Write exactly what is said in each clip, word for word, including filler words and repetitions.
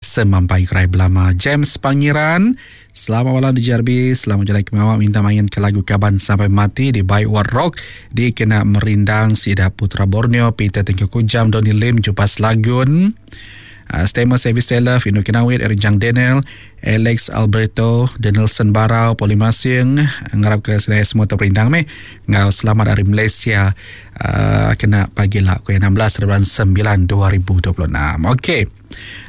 Semampai gerai belama. James Pangiran, selamat malam di J R B, selamat jalai kemawak, minta main ke lagu Kaban Sampai Mati di Baik War Rock dikena merindang Sida Putra Borneo, Peter Tengku Kujam, Donny Lim, Jupas Lagun, uh, Stemer Service Taylor, Fino Kenawit, Eric Jang Daniel, Alex Alberto, Danielson Barau, Poli Masing, ngarap ke sedaya semua terperindang meh. Ngau selamat hari Malaysia uh, kena pagi lah ku enam belas bulan sembilan dua ribu dua puluh enam. Okey.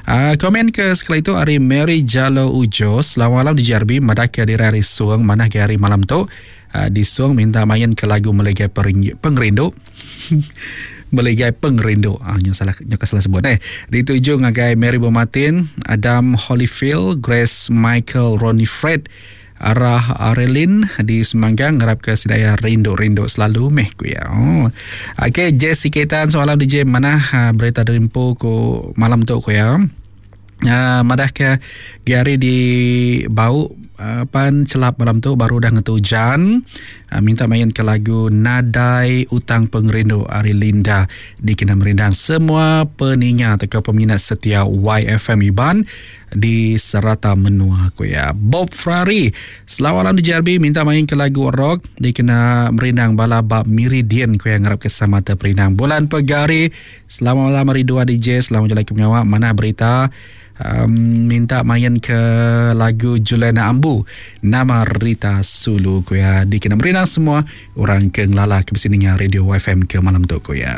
Uh, komen ke sekali itu hari Mary Jalo Ujo, selamat malam di J R B, madah ke diri hari suang, mana ke hari malam tu. Uh, di suang minta main ke lagu Melegai Pengerindu. Melegai Pengerindu. Ah, nyo salah, nyo salah sebut eh. Dituju ngagai Mary Bomatin, Adam Holyfield, Grace Michael, Ronnie Fred, Arah Arelin di Semanggang, ngarap ke sedaya rindu-rindu selalu meh ku ya. Oh. Okey, Jessica Tan soalan D J mana ha, berita dari empu ku malam tu ku ya. Uh, madah ke Gary di bau uh, pan celap malam tu baru dah ngetu hujan. Uh, minta main ke lagu Nadai Utang Pengerindu Ari Linda dikena merindang semua peninga atau peminat setia Y F M Iban di serata menua aku ya. Bob Ferrari, selamat malam di J R B, minta main ke lagu rock dikena merindang bala bab Meridian ku yang ngarap ke sama terperindang. Bulan Pegari, selamat malam hari dua D J, selamat jalan ke pengawak, mana berita. Um, minta main ke lagu Juliana Ambu, nama Rita Sulu ku ya, dikena merindang semua orang ke ngelala ke besininya Radio Y F M ke malam tu ku ya.